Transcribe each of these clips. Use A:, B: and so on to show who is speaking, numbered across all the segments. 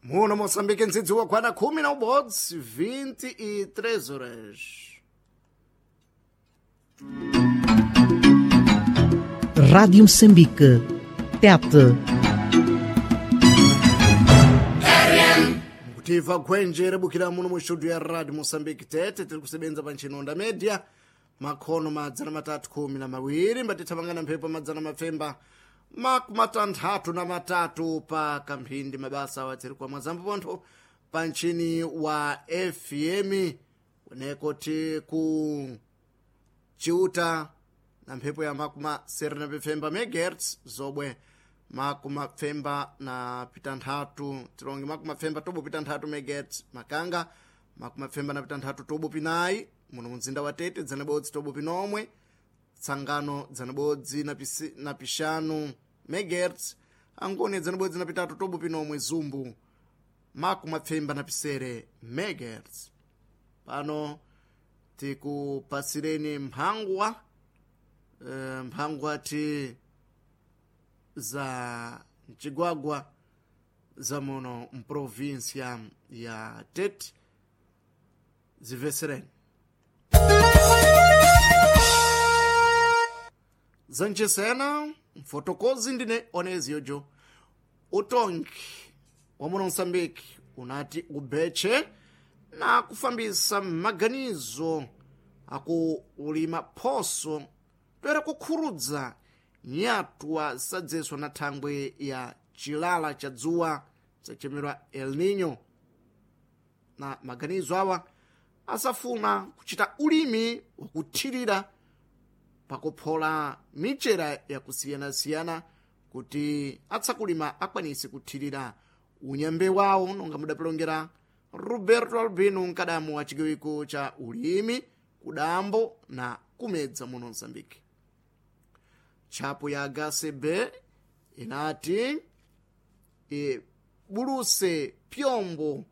A: Muno Moçambique nzidziwa kwana 11 23 horas.
B: Rádio Moçambique. Tete.
A: Kutiva khwenje rebukira muno mu studio ya Radio Moçambique Tete tiri kusebenza pa ntchinonda media makhono madzana matatu khumi na mawiri mbatithamangana mphepo madzana mapfemba makumatanthatu na matatu pa kamphindi mabasa watsiri kwa mwazambo pontho pa ntchini wa FM kuneko ti ku Chiuta na mphepo ya makuma sere na pfemba megahertz zobwe makuma pfemba na pitanthatu tilonge makuma pfemba tobo pitanthatu megahertz makanga makuma pfemba na pitanthatu tobo pinayi muno mumzinda wa Tete dzana bodzi tobo pinomwe tsangano dzana bodzi na, pisi, na pixanu megahertz angoni dzana bodzi na pitatu tobo pinomwe zumbu makuma pfemba na pisere megahertz pano tikupasireni mphangwa mphangwa ti za mcigwagwa za muno mprovinsia ya Tete zimvesereni zancesena mfotokozi ndine oneziyojo utongi wa muno Moçambique unati ubeche na kufambisa maganizo akuulima phoso toera kukhurudza nyatwa sadzeswa na thangwe ya chilala cha dzuwa sachemerwa El Nino na maganizo awa asafuna kuchita ulimi wakuthirira pakuphola michera yakusiyanasiyana kuti atsakulima akwanise kuthirira unyambe wawo nonga mudapilongera Roberto Albino mkadamu wa chigawo cha ulimi kudambo na kumedza muno Mozambique. Tchapo ya HCB inati ibuluse pyombo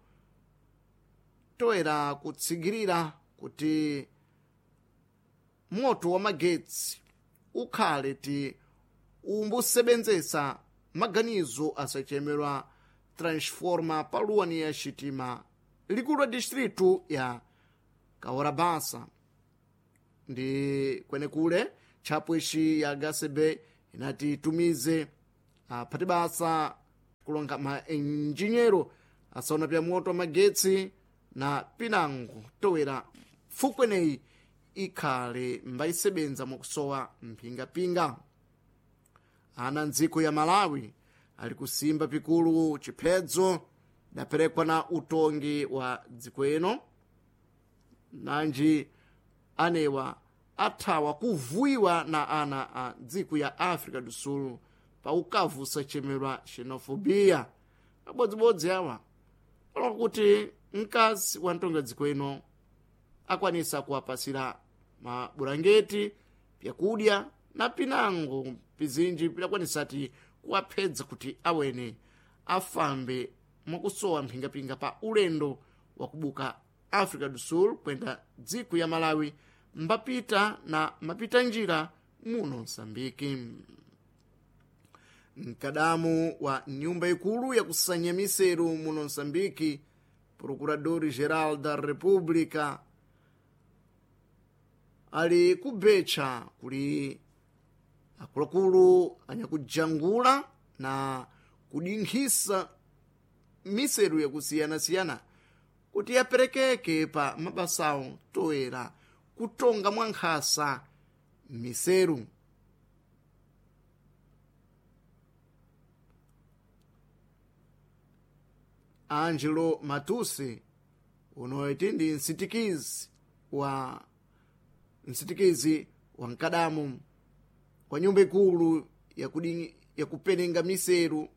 A: toera kutsigirira kuti moto wa magetsi ukhale ti umbusebenzesa maganizo asachemerwa transforma paluwani ya xitima likulu la distritu ya Kaorabasa ndi kwenekule tchapo ixi ya HCB inati itumize aphati basa kulonga maenjinyeiro asaona pya moto wa magetsi na pinango towera fukweneyi ikhale mbayisebenza mwakusowa mphingapinga. Ana ndziko ya Malawi ali kusimba pikulu chiphedzo daperekwa na utongi wa dziko ino nanji anewa athawa kuvuiwa na ana a dziko ya Africa do Sul pa ukavu sachemerwa xenofobia. Abodzibodzi awa palonga kuti mkazi wa mtongi dziko ino akwanisa kuwapasira mabulangeti pyakudya na pinango pizinji pidakwanisati kuwaphedza kuti awene afambe mwakusowa mphingapinga pa ulendo wakubuka Africa do Sul kwenda dziko ya Malawi mbapita na mapita njira muno Msambiki. Mkadamu wa nyumba ikulu yakusanya miseru muno Msambiki, Procurador Geral da República, ali kubetcha kuli akuluakulu anyakujangula na kudinkhisa miseru yakusiyanasiyana kuti yaperekeke pa mabasawo toera kutonga mwankhasa miseru. Angelo Matusi unoiti ndi msitikizi wa mkadamu kwa nyumba ikulu yakupenenga miseru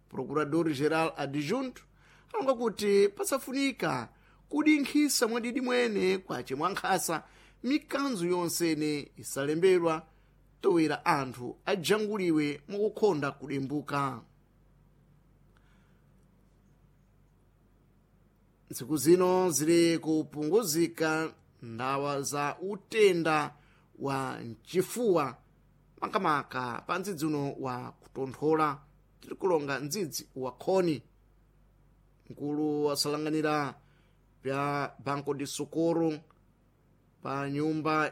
A: Procurador Geral Adjunto alonga kuti pasafunika kudinkhisa mwadidi mwene kwace mwankhasa mikanzo yonsene isalembedwa towera anthu ajanguliwe mwakukhonda kudimbuka. Ntsiku zino zili kupunguzika ndawa za utenda wa mchifuwa makamaka pa ndzidzi uno wa kutonthola tiri kulonga ndzidzi wa khoni. Mkulu wasalanganira pya Banco de Socorro pa nyumba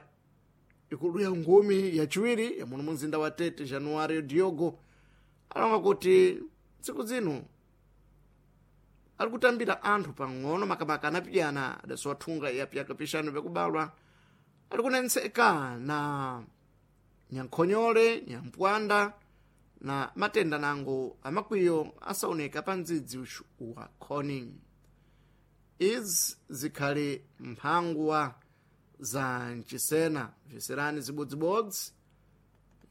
A: ikulu ya ngumi yachiwiri yamuno mumzinda wa Tete, Januário Diogo, alonga kuti tsiku zino ali kutambira anthu pang'ono makamaka anapiyana adasowa thunga ya pyaka pixanu pyakubalwa ali kunentseka na nyankhonyole, nyampwanda na matenda nango amakwiyo asaoneka pa mdzidzi uxu wa khoni. Izi zikhali mphangwa za mcisena bviserani zibodzibodzi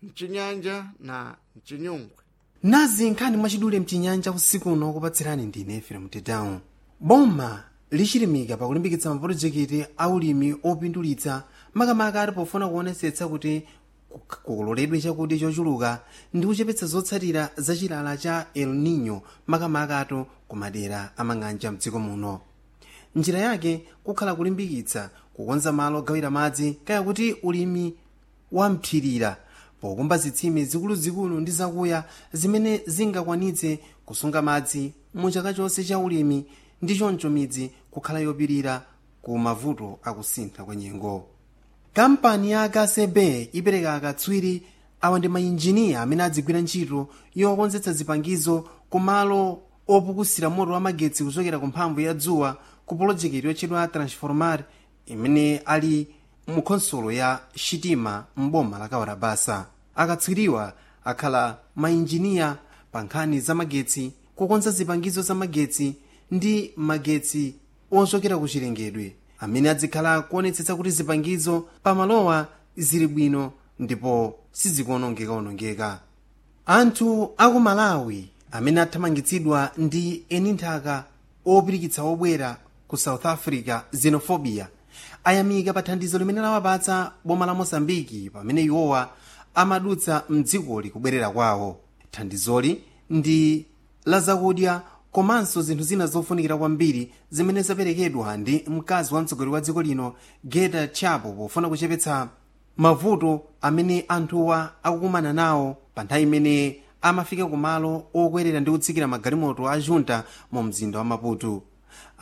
A: mcinyanja na mcinyungwe.
C: Nazi nkhani mwachidule mchinyanja usiku uno, kupatsirani ndine Efrem Tedown. Boma lichilimika pakulimbikitsa mapulojekiti aulimi opindulitsa, makamaka ali pofuna kuonetsetsa kuti kukololedwe chakudya chochuluka ndi kuchepetsa zotsatira za chilala cha El Nino, makamaka kumadera amang'anja mdziko muno. Njira yake kukhala kulimbikitsa kukonza malo ogawira madzi, kaya kuti ulimi wamthirira, pokumba zitsime zikuluzikulu ndi zakuya zimene zingakwanitse kusunga madzi mu chaka chonse cha ulimi, ndi choncho midzi kukhala yopirira ku mavuto akusintha kwa nyengo. Kampani ya KCB ipereka akatswiri awa ndi mainjiniya amene adzigwira ntchito yokonzetsa zipangizo kumalo opukusira moto wa magetsi kuchokera ku mphamvu ya dzuwa ku polojekiti yotchedwa Transformar imene ali mu khonsolo ya Xitima m'boma la Kawarabasa. Akatswiriwa akhala mainjiniya pa nkhani za magetsi, kukonza zipangizo za magetsi ndi magetsi ochokera ku chilengedwe, amene adzikhala kuonetsetsa kuti zipangizo pamalowa zili bwino ndipo sizikuonongekaonongeka. Anthu aku Malawi amene athamangitsidwa ndi eni nthaka opirikitsa obwera ku South Africa, xenophobia, ayamika pa thandizo limene lawapatsa boma la Mosambiki pamene iwowa amadutsa mdzikoli kubwerera kwawo. Thandizoli ndi la zakudya komanso zinthu zina zofunikira kwambiri zimene zaperekedwa ndi mkazi wa mtsogoleri wa dziko lino Geta Chapo pofuna kuchepetsa mavuto amene anthuwa akukumana nawo pa nthawi imene amafika kumalo okwerera ndi kutsikira magalimoto a junta mu mzinda wa Maputo.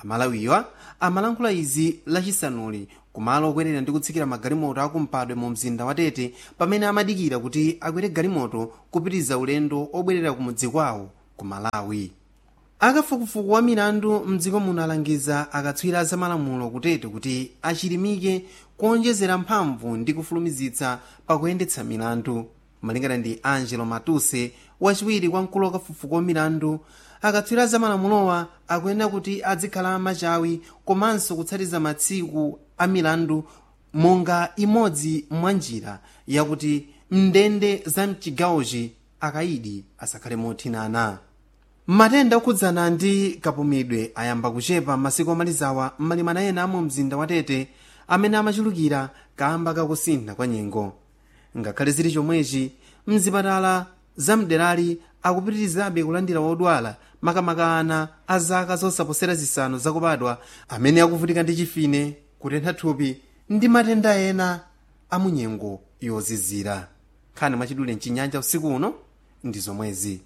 C: Amalawiwa amalankhula izi Lachisanuli kumalo okwerera ndi kutsikira magalimoto akumpadwe mu mzinda wa Tete pamene amadikira kuti akwere galimoto kupitiriza ulendo obwerera kumudzi kwawo ku Malawi. Akafukufuku wa milandu mdziko muno alangiza akatswiri azamalamulo kutete kuti achilimike kuonjezera mphamvu ndi kufulumizitsa pakuyendetsa milandu. Malingana ndi Angelo Matuse, wachiwiri kwa mkulu wakafukufuku wa milandu, akatswiri azamalamulowa akuyenera kuti adzikhala machawi komanso kutsatiza matsiku a milandu monga imodzi mwa njira yakuti mndende za mchigawochi akayidi asakhale mothinana. Matenda okhudzana ndi kapumidwe ayamba kuchepa masiku amalizawa m'malimana ena amu mzinda wa Tete amene amachulukira kamba kakusintha kwa nyengo. Ngakhale zili chomwechi, mzipatala zamderali akupitirizabe kulandira wodwala, makamaka ana a zaka zosaposera 5 zakubadwa amene akuvutika ndi chifine, kutentha thupi ndi matenda ena amunyengo yozizira. Nkhani mwachidule mchinyanja usiku uno ndi zomwezi.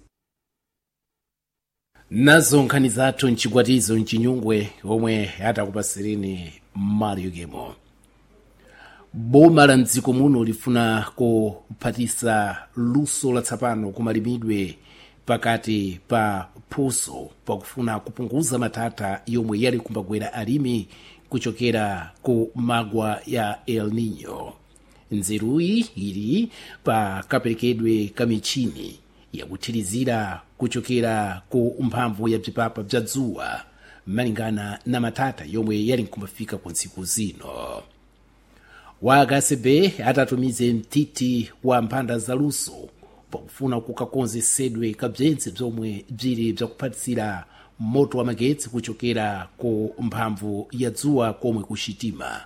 D: Nazo nkhani zathu mchikwatizo mchinyungwe omwe atakupasirini Mario Gemo. Boma la mdziko muno lifuna kuphatisa luso latsapano kumalimidwe pakati pa phuso pakufuna kupunguza mathatha yomwe yali kumbagwera alimi kuchokera ku magwa ya El Nino. Nzeruyi ili pa kaperekedwe ka michini yakuthirizira kuchokera ku mphamvu ya bzipapa bza dzuwa malingana na mathatha yomwe yali nkumbafika ku ntsiku zino. Wa akasebe atatumize mtiti wa mphanda zaluso pakufuna kukakonzesedwe kabzentse bzomwe bzili bzakuphatisira moto wa magetsi kuchokera ku mphamvu ya dzuwa komwe kuxitima.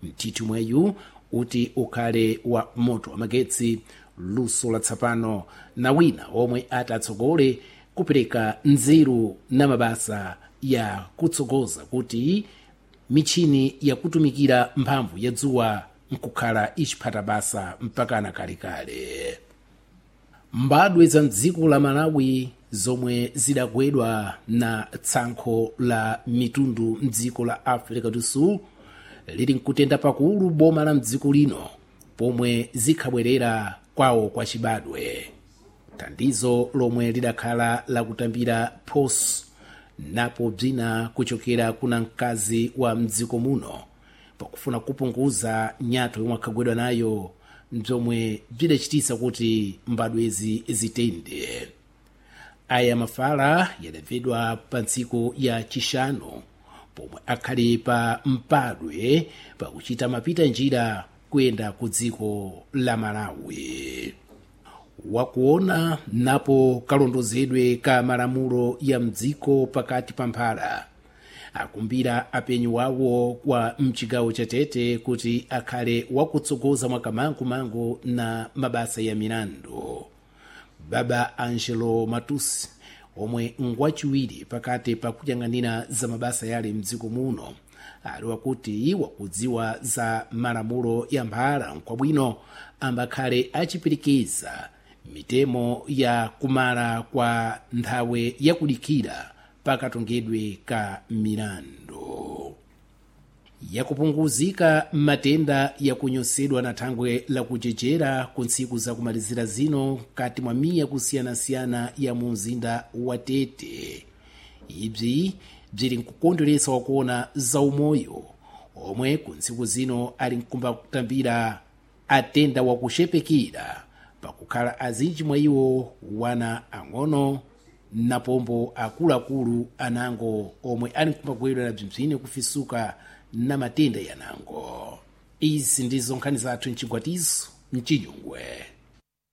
D: Mtiti mweyu uti ukhale wa moto wa magetsi, luso latsapano na wina omwe atatsogole kupereka nzeru na mabasa ya kutsogoza kuti michini yakutumikira mphamvu ya dzuwa nkukhala ichiphata basa mpakana kalekale. Mbadwe za mdziko la Malawi Zomwe zidagwedwa na tsankho la mitundu mdziko la Africa do Sul lili nkutenda pakulu boma la mdziko lino pomwe zikhabwerera kwawo kwa chibadwe. Thandizo lomwe lidakhala lakutambira phoso napo bzina kuchokera kuna mkazi wa mdziko muno pakufuna kupunguza nyato yomwe akhagwedwa nayo, bzomwe bzidachitisa kuti mbadwezi zitende. Aya mafala yadabvedwa pa ntsiku ya Chixanu pomwe akhali pa mpadwe pakuchita mapita njira kuyenda ku dziko la Malawi. Wakuona napo kalondozedwe ka malamulo ya mdziko pakati pa mphala akumbira apenyi wawo kwa mchigawo cha Tete kuti akhale wakutsogoza mwakamangumangu na mabasa ya milandu. Baba Angelo Matusi, omwe ngwachiwiri pakati pakuyang'anira za mabasa yale mdziko muno, ali wakuti wakudziwa za malamulo ya mphala nkwabwino ambakhale achipirikiza mitemo ya kumala kwa nthawi yakudikira pakatongedwe ka milandu. Yakupunguzika matenda yakunyosedwa na thangwe lakuchechera ku ntsiku zakumalizira zino mkati mwa miya kusiyanasiyana ya mu mzinda wa Tete. Ibzi bzili nkukondweretsa wakuona zaumoyo omwe ku ntsiku zino ali nkumba kutambira atenda wakuxepekera pakukhala azinji mwa iwo wana ang'ono napombo akuluakulu anango omwe ali nkumbagwedwa na bzimbzine kufisuka na matenda yanango. Izi ndizo nkhani zathu mchigwatizo mchinyungwe.